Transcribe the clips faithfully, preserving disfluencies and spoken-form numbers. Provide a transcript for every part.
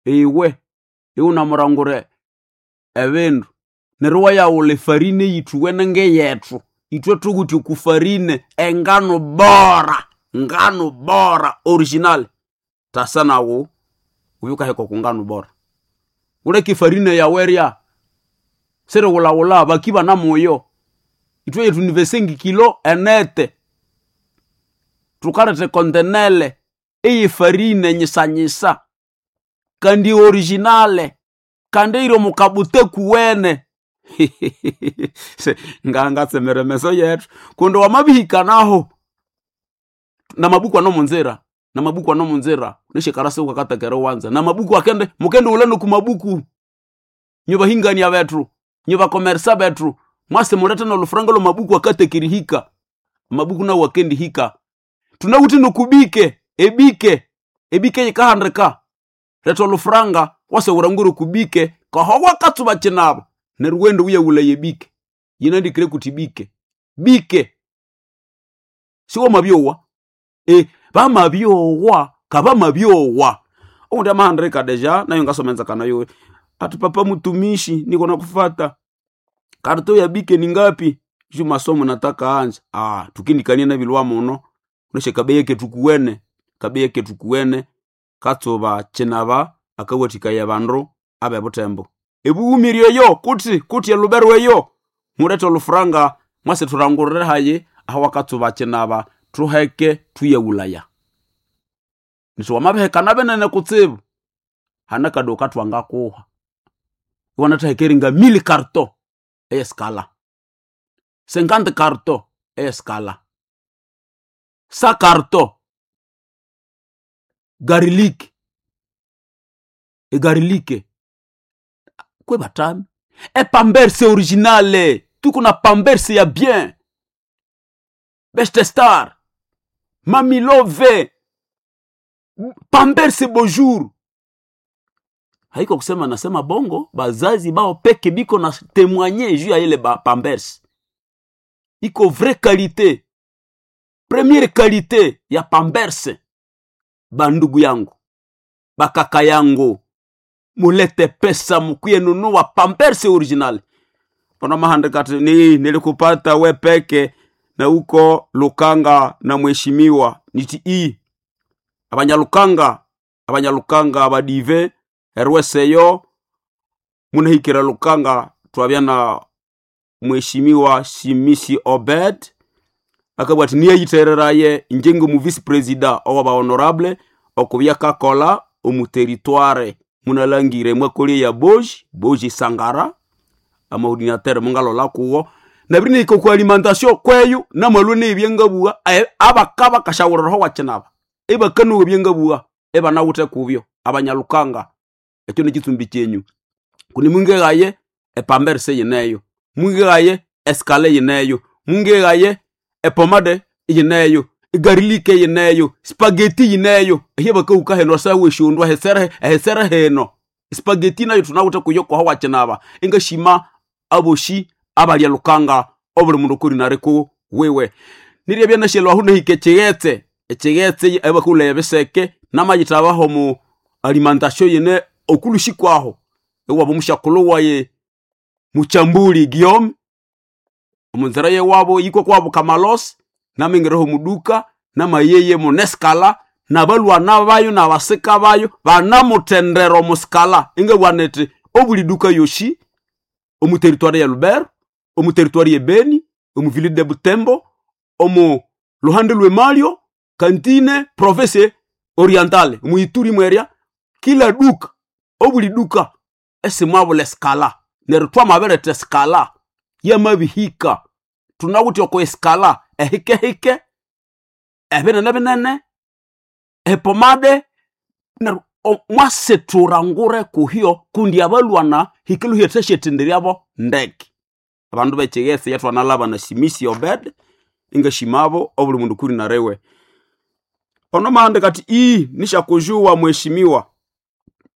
Iwe iwunamurangura ebindu neryo iwayaghulha efarine eyithuwene ngeyethu. Ithwe thuwithe oku farine engano bora, ngano bora original. Tasa nawu wubye wukaheka oku ngano bora. Wuleke efarine yawu erya, sirighulhaghulha bakibana muyo. Ithwe yethu ni vingt-cinq kilo enete. Thukaletha ekontenele eyefarine nyisanyisa kandi original kandi eyiri omo kabute kuwene. Ngangatsemera emeso yethu kundi wamabihikanaho namabuku anomunzira, namabuku anomunzira nesyakarasi wukakatheka eriwanza. Namabuku akende mukendighulha noku mabuku. Inywe bahingania bethu, inywe bakomersa bethu, mwase mulethe nolufuranga lwamabuku akatheka erihika. Amabuku nawu akendihika. Thunawithe nokubike, ebike, ebike yikahandika. Letha olufuranga wase wulangire okubike kaho wakatsuba kinaba neryo wughende wuyaghulaya ebike. Yinandikire kuthi bike, bike. Siwamabyowa? E, bamabyowa kabamabyowa. Owundi amahandika deja nayo ngasoma enzakano yiwe. Ati papa mtumishi niko nakufata. Karto ya bike ni ngapi? Juu masomo nataka anja. Ah, tukindikania nabilwa muno. Uneshe kabeyi kethu kuwene, kabeyi kethu kuwene katsuba kinaba akawathikaya abandu abebuthembo. Ebughumiri eyo kuti kuti elubero eyo mulethe olufuranga mwase thulangurire hayi aho wakatsuba kinaba thuheke thuyaghulaya. Nithi wamabihekana binene kutsibu hane akaduka thwangakuha. Iwanathaheka eringa mille carton eyesikala, cinquante carton eyesikala, cent carton garlic, egarlic kwebatami. Epamberse originale, tuko na pamberse ya bien. Best Star, Mami Love, pamberse bonjour. Haiko kusema nasema bongo, bazazi bao peke biko na témoigner juu ya ile ba pamberse. Iko vraie qualité, première qualité ya pamberse. Bandugu yangu, bakaka yangu, mulete pesa mukuye nunua pamberse original. Ona mahandika ati ni nilikupata we peke na uko Lukanga na mheshimiwa niti i abanyalukanga abanyalukanga abadive erweseyo munahikira Lukanga twabya na mheshimiwa Simisi Obed akabwa ati niyeyitereraye inje mu vice president owa ba honorable okubya kakola omu territoire munalangire mwakolie ya Boji Boji Sangara amaordinateur mungalola kuwo nabiri ku alimentation kweyu namwalwe nebyengabuwa abakaba kashawuriraho wakinaba ebakanuwa ebyengabuwa ebanawuthe kubyo abanyalukanga ekyo nekitsumbi kyenyu kuni mungeghaye epamberse yineyo mungeghaye esikale yineyo mungeghaye epomade yineyo egarilike yineyo spaghetti yineyo ehe bakawuka heno sawe shundwa hesere hesere heno spaghetti nayo tunawuthe kuyo kwaho wakinaba engashima aboshi abalya lukanga obuli mundu kuri nareko wewe nirya byanashelwa aho nahika ekighetse ekighetse ebakulaya ebiseke namayithabaho mu alimentation yine okulushi kwaho ewabo omushakulhu waye muchambuli Guillaume omunzira yewabo yikwa kwabo Kamalos namingireho muduka namayeye muneskala nabalwana bayo nabasika bayo banamuthendera omusikala ingabwana ethi obuli duka yoshi omu territoire ya Lubero omu territoire ye Beni omu ville de Butembo omu luhande lwe Malio kantine province orientale mu Ituri mwerya kila duka obuli duka esimwabula esikala neryo twamabiretha esikala yamabihika thunawithe oko esikala ehikehike ebinene binene epomade neryo mwasithurangure kuhyo kundi abalwana hikiluhya thasyatenderyabo ndeke abandu bekighetse yethwanalaba na Simisi Obed ingashimabo obuli mundu kuri narewe ono mahandika ati ii nishakujuwa mheshimiwa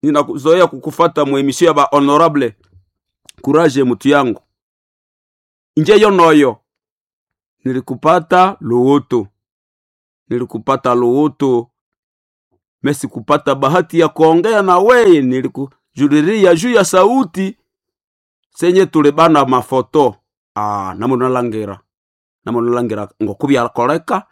ninakuzoea kukufata muemisio ya ba honorable courage mutu yangu inje yonoyo nilikupata luhutu nilikupata luhutu Mesikupata bahati ya kuongea na weye, nilikujuliria juu ya sauti senye tulibana mafoto. Ah, namunalangira namunalangira ngokubyakoleka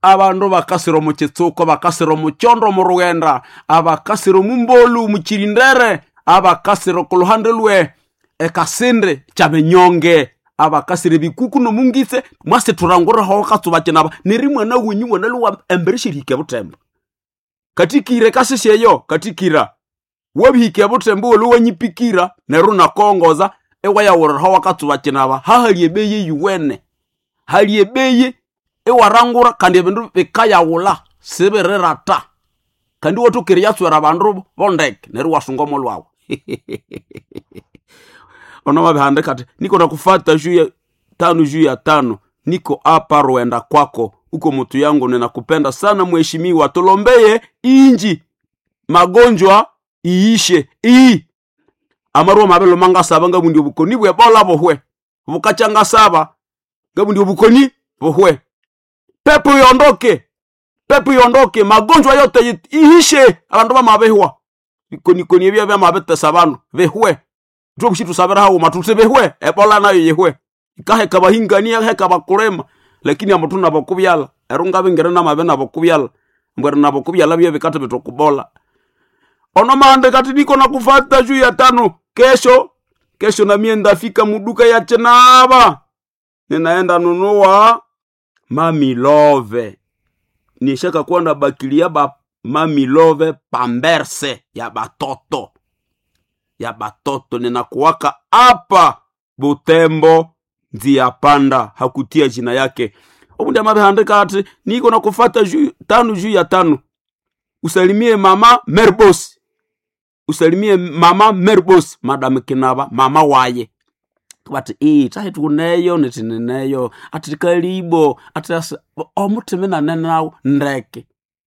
abandu bakasira omu kitsuko, bakasira omu kyondo omu rughenda, abakasira omu mbolu omu kirindere, abakasira oku luhande lwe ekasindi kyabinyonge, abakasira ebikuku nomungitse mwasi thuranguraho katsuba kinaba neri mwana wenyu mwana embere syerihika ebuthembo katikira ekasisi eyo katikira wabihika ebuthembo wolo wanyipikira neryo nakongoza ewayawuriraho wakatsuba kinaba hahali ebeyi eyuwene hali ebeyi iwarangura kandi ebindu bikayawula sibirirata kandi iwatokere yatswera abandu bondeke neryo iwasunga omolwawu ono wabihandika ati niko nakufata juu ya tano juu ya tano niko apa rwenda kwako uko mutu yangu ninakupenda sana mheshimiwa tulombeye inji magonjwa iishe ii amarwa mabelo mangasaba ngabundi obukoni bwebola buhwe bukacha ngasaba ngabundi obukoni buhwe pepo iondoke pepo iondoke magonjwa yote iishe abandu bamabihwa bikonikoni ebyo byamabitesa abandu bihwe thukushi tusabira haghuma thuthi bihwe ebola nayo yihwe ikaheka bahingania heka bakulima lakini amuthu nabokubyala ero ngabingire namabi nabokubyala mbwera nabokubyala bye bikatha bitokubola ono mande kati niko nakufata juu ya tano kesho kesho namie ndafika muduka ya chinaba ninaenda nunua mamilove nishaka kuwa na bakilia ba mamilove pamberse ya batoto ya batoto ninakuwaka apa Butembo nzia panda hakutia jina yake obundi amabihandika ati niko nakufata juu tano juu ya tano usalimie mama Merbos usalimie mama Merbos madam Kinaba mama waye bati ii tahi tukuneyo nitineneyo ati kalibo ati omuthimi nanenawo ndeke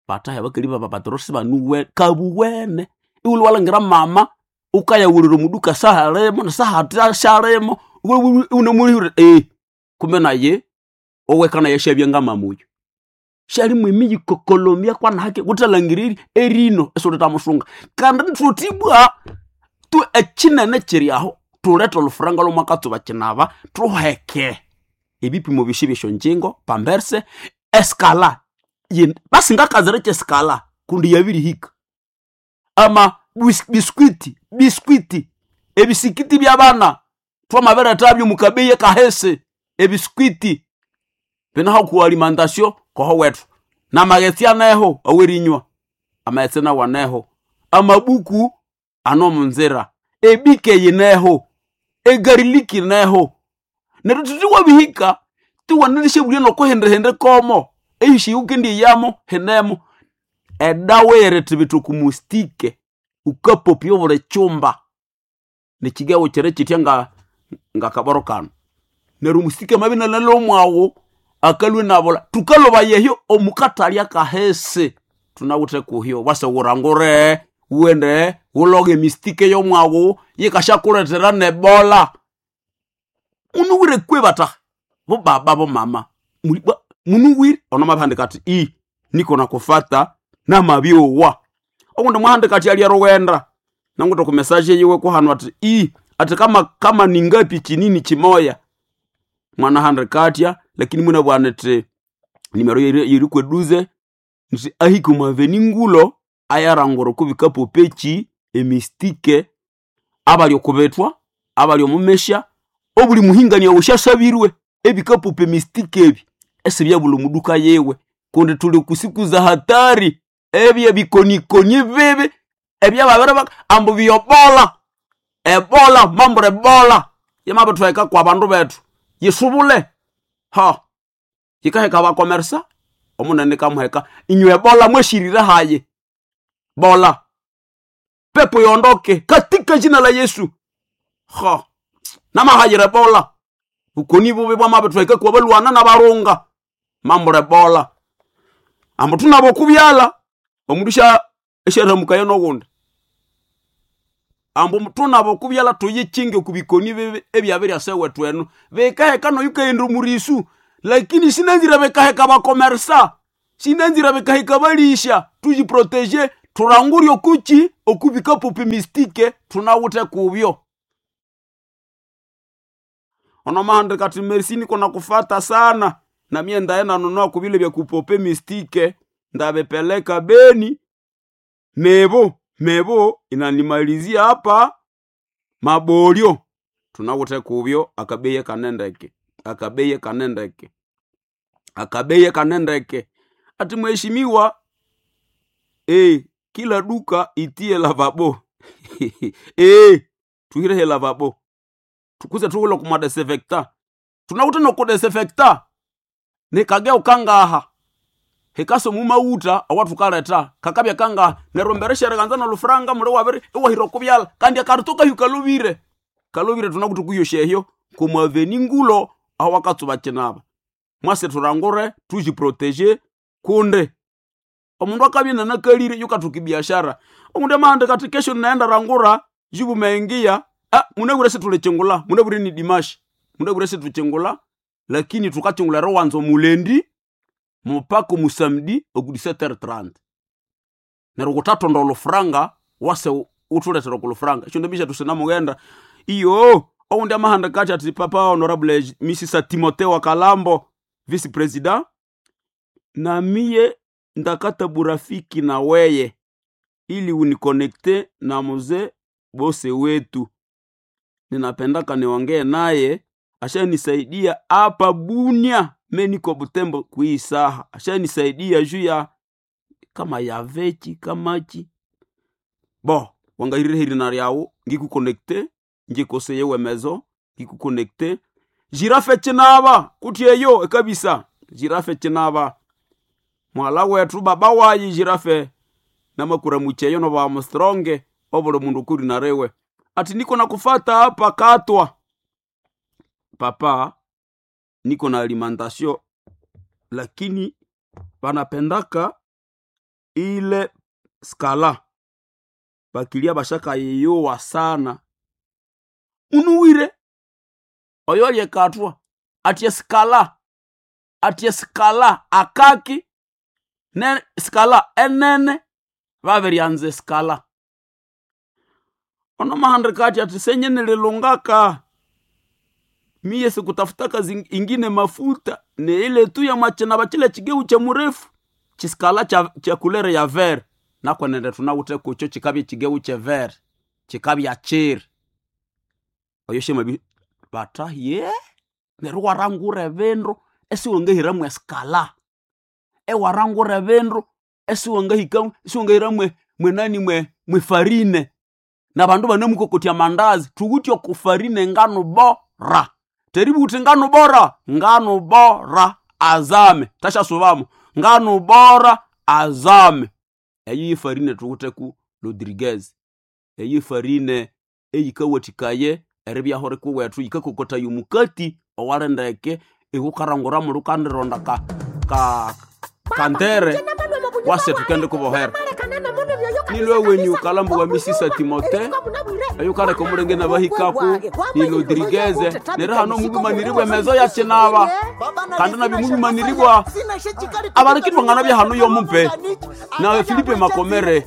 batahi bakaliba babatrosi banuwe kabuwene iwuli walangira mama ukayawulira omuduka sahalimo nasahati shalimo unemulihira ee kumbe naye oweka naye shabya ngamama uyu shalimu emiyikokolomya kwanahake wuthalangiriri erino esulitamusunga kandi thutibwa tu ekinene kiri aho thulethe olufuranga lwomwakatsuba kinaba thuheke ebipimo byosi byesyonjingo pamberse eskala basingakazira kyesikala kundi yabirihika ama biskwiti biskwiti ebisikiti byabana twamabirethabyo mukabeyi kahese ebiskwiti binaho ku alimentation koho wethu namaghetse aneho awerinywa amaghetse nawo aneho amabuku ano munzira ebike yineho egariliki ineho neryo thuthi wabihika tiwanalishabulya nokuhindihindi komo ehishi wukendiyamo hinemo edawa erithibitha okumustike ukapopya obuli chumba nekigawo kiri kitya nga ngakaboro kano neryo omusike amabi nalala omwawu akalwe nabula tukaloba yehyo omukathalya kahese thunawithe kuhyo wase wurangure wughende wuloge emistike yomwawu yikashakulethera nebola munuwire kwe bataha bobaba bomama munuwire ono mabihandika ati i niko nakufata namabyowa okundi mwahandika ati alya rughenda nanguta ku message yiwe kuhanu ati i ati kama kama ningapi chinini chimoya mwana handika atya lakini mwina bwana ti nimero yiri kweduze nti ahike omwaveni ngulo ayarangura okubikapo pechi emistike abali okubetwa abali omumesha obuli muhingania osyasabirwe ebikapupa emistike ebi esibyabula omuduka yiwe kundi tuli kusiku za hatari ebye bikonikoni bibi ebyababiri ambu byobola ebola mambura ebola yamabithweka kwa bandu bethu yisubule ha yikaheka abakomersa omunene kamuheka inywe ebola mweshirire haye bola pepo yondoke katika jina la Yesu ha namahayire bola bukoni bubi bwamabithweka kwa balwana nabarunga mambura ebola ambu thunabo kubyala omundu sha esyaramukayo nogundi ambu thunabo kubyala thuyikinge okubikoni bibi ebyabirya wethu eno bikaheka noyukaghenda omurisu lakini sinanzire bikaheka bakomersa sinanzire bikaheka balisha tuyiproteje Turangure okuchi okubika pope mystique tunawute kubyo. Ono mahande kati merci niko nakufata sana na mie ndaenda nunua kubile vya kupope mistike ndabepeleka Beni mebo mebo inanimalizia hapa mabolyo tunawute kubyo akabeye kanendeke akabeye kanendeke akabeye kanendeke ati mheshimiwa eh kila duka itie lavabo eh tuhirehe lavabo tukuze tuwulo kuma desinfectant tunawute nokudesinfecta nikage ukangaha hikaso mumauta awatukaleta kakabya kangaha neryo mbere kanza nolufuranga muli wabiri iwahira okubyala kandi akarituka hyu kalubire kalubire tunakuti kuyoshehyo kumwaveni ngulo awakatsuba kinaba mwase turangure tujiproteje kunde omundu akabya nanakalire yukathuka biashara omundu amahanda kati kesho naenda rangura jibu meengia ah munabure situlichingula munabure ni dimashi munabure situchingula lakini tukachingula rowanzo mulendi mupaka musamdi oku dix-sept heures trente neryo kutatonda olufuranga wase utuletera okulufuranga esyo ndobisha tusinamugenda iyo oundi amahanda kati ati papa honorable misisa Timotheo wa Kalambo vice president na miye ndakata burafiki na weye ili unikonekte na mzee bose wetu ninapendaka niongee naye ashanisaidia hapa Bunia me niko Butembo kuii saha ashanisaidia juu ya kama ya vechi kamachi bo wangahirire hirina ryawu ngikukonekte ngikoseye wemezo ngikukonekte jirafe chinava kuti eyo ekabisa jirafe chinava mwala wetu baba wayi jirafe namakura mucheyo no ba mstronge obuli mundu kuri narewe ati niko nakufata hapa katwa papa niko na alimentation lakini banapendaka ile skala bakilia bashaka yeyowa sana unuwire oyo lyekatwa atye skala atye skala akaki ne skala enene babiryanza skala ono mahandika ati ati senye nililungaka miye sikutafutaka ingine mafuta ni ile tu ya machina bachile chigeu cha murefu chiskala cha, cha kulere ya ver nakwenende tunawute kucho chikabya chigeu che ver chikabya chiri oyo shema bi bata ye neryo warangura ebindu esiwangahiramu eskala ewarangura ebindu esiwangahika esiwangahiramu mwenani mwe mwefarine na bandu banemukokotya mandazi tuwutye okufarine ngano bora teributi ngano bora ngano bora azame tashasubamo ngano bora azame eyo yifarine tuwuteku Rodriguez eyo ifarine eyikawatikaye eribyaho rikuwethu yikakokotaya omukati owalindeke ikukarangura muli ukandironda ka ka kantere wase tukende kubohera nilwe wenyu kalambo wa misisa Timote ayo kaleka omulenge nabahikaku ni Rodriguez neri hano mubimaniribwa emezo ya kinaba kandi nabyo mubimaniribwa abarikitwangana bya hano yomupe nawe Filipe Makomere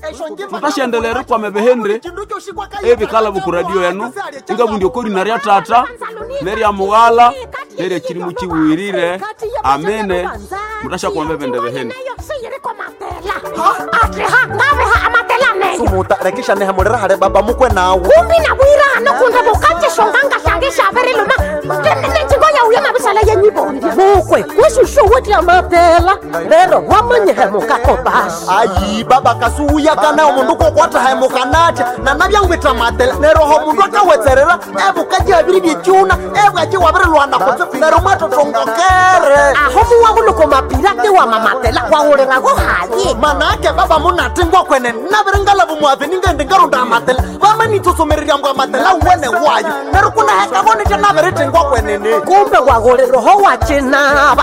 tutashendelere kwame behendre ebikala bukuradio yenu ingabundi okori narya tata nerya mughala nerya kirimu kiwirire amene mutasha kwambe bende behende sumuta rekisha nehamulira hale baba mukwe nawe kumbi nabwira hano kunde bukatishonganga shange shaveriluma nenjingo yauye mabisala yenyibondi mukwe kwesushuwutya mapela lero wamanyihemukako basi ayi baba kasuwuya nawo mundu kokwata hemukanatya nanabyangwitha matela neroho mundu akawetserera ebukaji abiri byekyuna ebwaki wabirilwana kutse nero mwatotongokere aho muwahuluko mapira tiwamamatela wawulirago hayi manake baba munatingwa kwene nabiringalavu muave ningendi ngarunda amatela vamanitsosomererya mbwa amatela wene wayo nero kunahekavonitya nabiritingwa kwenene kumbe wawuliroho wacinava